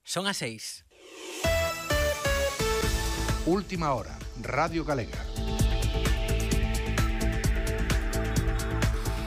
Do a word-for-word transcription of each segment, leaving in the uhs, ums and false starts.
Son as seis. Última hora, Radio Galega.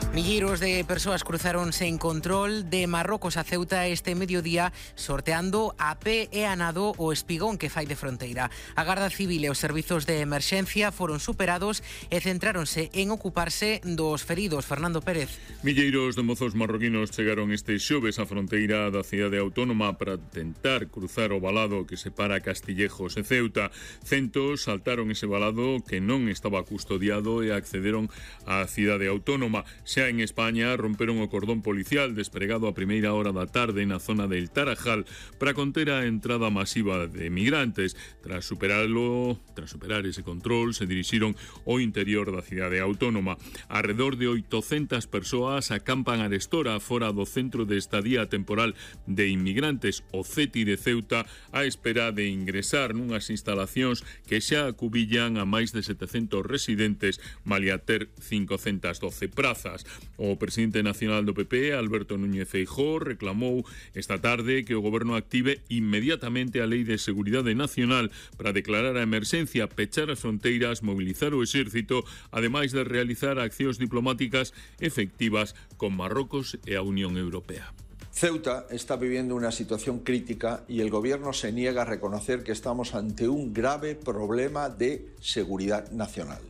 Milleiros de persoas cruzáronse en control de Marrocos a Ceuta este mediodía sorteando a pé e a nado o espigón que fai de fronteira. A Garda Civil e os servizos de emerxencia foron superados e centráronse en ocuparse dos feridos. Fernando Pérez. Milleiros de mozos marroquinos chegaron este xoves á fronteira da cidade autónoma para tentar cruzar o valado que separa Castillejos e Ceuta. Centos saltaron ese valado que non estaba custodiado e accederon á cidade autónoma. Xa en España romperon o cordón policial despregado a primeira hora da tarde na zona del Tarajal para conter a entrada masiva de migrantes. Tras superarlo, tras superar ese control, se dirixiron ao interior da cidade autónoma. Arredor de oitocentas persoas acampan arestora fora do centro de estadía temporal de inmigrantes, o CETI de Ceuta, á espera de ingresar nunhas instalacións que xa acubillan a máis de setecentos residentes, malia ter cincocentas doce prazas. O presidente nacional do P P, Alberto Núñez Feijóo, reclamou esta tarde que o goberno active inmediatamente a Lei de Seguridade Nacional para declarar a emerxencia, pechar as fronteiras, mobilizar o exército, ademais de realizar accións diplomáticas efectivas con Marrocos e a Unión Europea. Ceuta está viviendo una situación crítica y el gobierno se niega a reconocer que estamos ante un grave problema de seguridad nacional.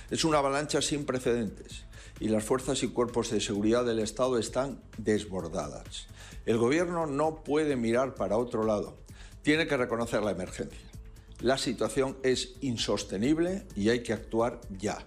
Es una avalancha sin precedentes y las fuerzas y cuerpos de seguridad del Estado están desbordadas. El gobierno no puede mirar para otro lado, tiene que reconocer la emergencia. La situación es insostenible y hay que actuar ya.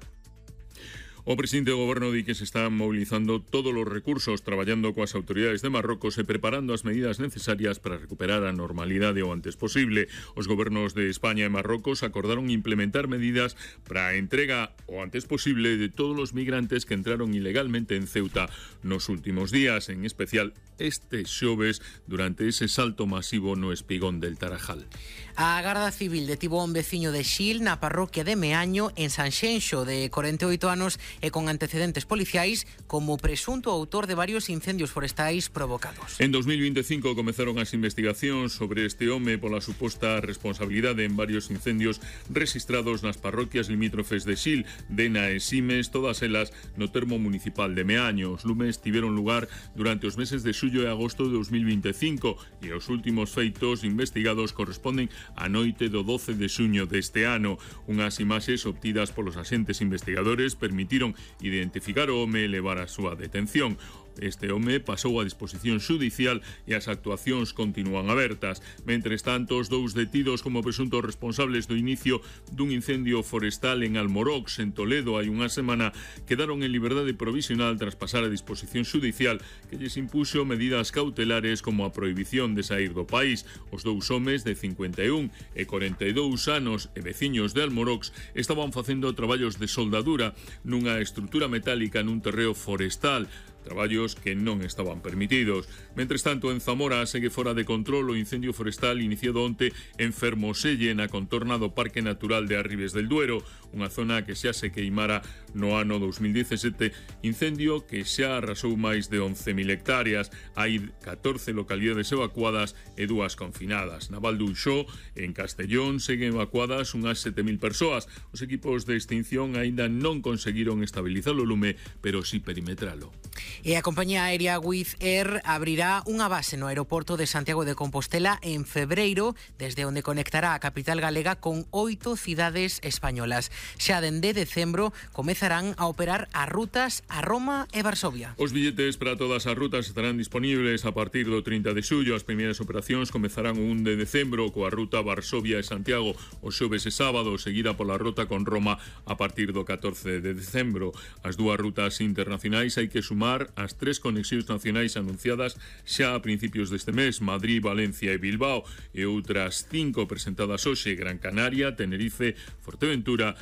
O presidente do goberno di que se están mobilizando todos os recursos, traballando coas autoridades de Marrocos e preparando as medidas necesarias para recuperar a normalidade o antes posible. Os gobernos de España e Marrocos acordaron implementar medidas para a entrega o antes posible de todos os migrantes que entraron ilegalmente en Ceuta nos últimos días, en especial este xoves durante ese salto masivo no espigón del Tarajal. A Garda Civil detivo a un veciño de Xil na parroquia de Meaño en Sanxenxo de corenta e oito anos e con antecedentes policiais como presunto autor de varios incendios forestais provocados. En dos mil veinticinco comezaron as investigacións sobre este home pola suposta responsabilidade en varios incendios registrados nas parroquias limítrofes de Xil, Dena e Simes, todas elas no termo municipal de Meaño. Os lumes tiveron lugar durante os meses de xullo e agosto de dos mil veinticinco e os últimos feitos investigados corresponden á noite do doce de xuño deste ano. Unhas imaxes obtidas polos axentes investigadores permitiron identificar o home e levar a súa detención. Este home pasou a disposición xudicial e as actuacións continúan abertas. Mentres tanto, os dous detidos como presuntos responsables do inicio dun incendio forestal en Almorox, en Toledo, hai unha semana, quedaron en liberdade provisional tras pasar a disposición xudicial que lles impuxo medidas cautelares como a prohibición de sair do país. Os dous homes de cincuenta e un e corenta e dous anos e veciños de Almorox estaban facendo traballos de soldadura nunha estrutura metálica nun terreo forestal, traballos que non estaban permitidos. Mentres tanto, en Zamora segue fora de control o incendio forestal iniciado onte en Fermoselle, na contorna do Parque Natural de Arribes del Duero, unha zona que xa se queimara no ano dos mil dezasete, incendio que xa arrasou máis de once mil hectáreas. Hai catorce localidades evacuadas e dúas confinadas. Na Val d'Uixó, en Castellón, seguen evacuadas unhas sete mil persoas. Os equipos de extinción aínda non conseguiron estabilizar o lume, pero si perimetralo. E a compañía aérea Wizz Air abrirá unha base no aeroporto de Santiago de Compostela en febreiro, desde onde conectará a capital galega con oito cidades españolas. Xa dende decembro comezarán a operar as rutas a Roma e Varsovia. Os billetes para todas as rutas estarán disponibles a partir do trinta de xullo. As primeiras operacións comezarán o un de decembro coa ruta Varsovia e Santiago o xoves e sábado, seguida pola ruta con Roma a partir do catorce de decembro. As dúas rutas internacionais hai que sumar as tres conexións nacionais anunciadas xa a principios deste mes, Madrid, Valencia e Bilbao, e outras cinco presentadas hoxe, Gran Canaria, Tenerife, Fuerteventura,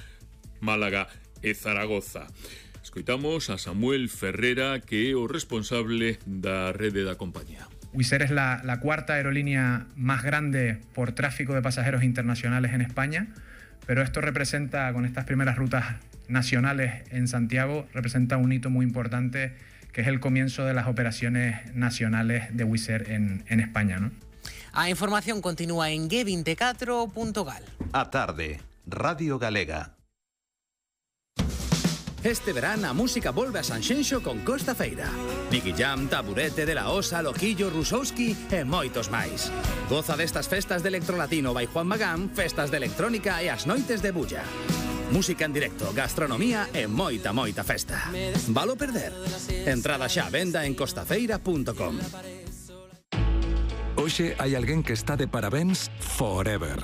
Málaga e Zaragoza. Escoitamos a Samuel Ferrera, que é o responsable da rede da compañía. Wizz Air es la, la cuarta aerolínea más grande por tráfico de pasajeros internacionales en España, pero esto representa, con estas primeras rutas nacionales en Santiago, representa un hito muy importante, que es el comienzo de las operaciones nacionales de Wizz Air en, en España, ¿no? A información continúa en ge veinticuatro punto gal. A tarde, Radio Galega. Este verán a música volve a Sanxenxo con Costa Feira. Nicky Jam, Taburete, De La Osa, Loquillo, Rusowski e moitos máis. Goza destas festas de electrolatino by Juan Magán, festas de electrónica e as noites de bulla. Música en directo, gastronomía e moita, moita festa. Valo perder? Entrada xa a venda en costafeira punto com. Hoxe hai alguén que está de parabéns forever.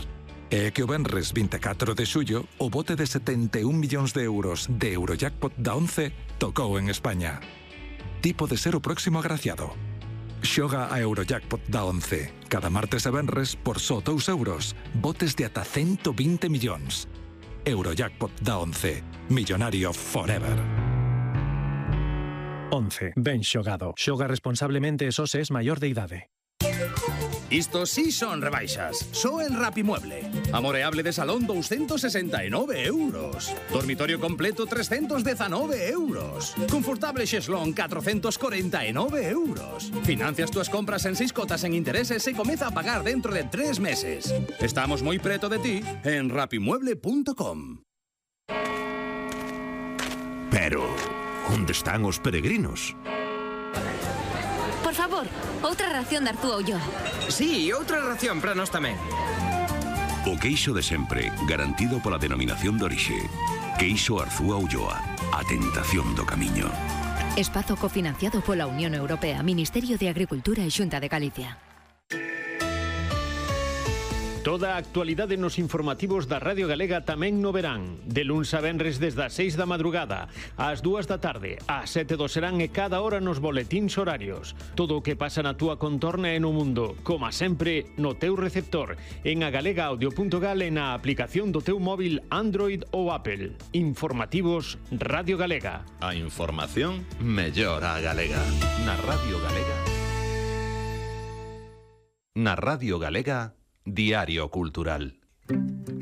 É que o venres veinticuatro de xullo o bote de setenta e un millóns de euros de Eurojackpot da once tocou en España. Ti pode ser o próximo agraciado. Xoga a Eurojackpot da once. Cada martes e venres por só dous euros. Botes de ata ciento vinte millóns. Eurojackpot da once. Millonario forever. once. Ben xogado. Xoga responsablemente e só se es maior de idade. Isto sí son rebaixas. Só en Rapimueble. Amoreable de salón doscientos sesenta e nove euros. Dormitorio completo trescientos diecinueve euros. Confortable xeslón cuatrocientos cuarenta e nove euros. Financias túas compras en seis cotas en intereses e comeza a pagar dentro de tres meses. Estamos moi preto de ti en rapimueble punto com. Pero, onde están os peregrinos? Por favor, outra ración de Arzúa Ulloa. Sí, outra ración para nós tamén. O queixo de sempre, garantido pola denominación de orixe. Queixo Arzúa Ulloa, a tentación do camiño. Espazo cofinanciado pola Unión Europea, Ministerio de Agricultura e Xunta de Galicia. Toda a actualidade nos informativos da Radio Galega tamén no verán. De luns a venres desde as seis da madrugada, ás dúas da tarde, ás sete do serán e cada hora nos boletíns horarios. Todo o que pasa na túa contorna e no mundo, como sempre, no teu receptor, en agalega audio punto gal e na aplicación do teu móvil Android ou Apple. Informativos Radio Galega. A información mellor a galega. Na Radio Galega. Na Radio Galega, Diario Cultural.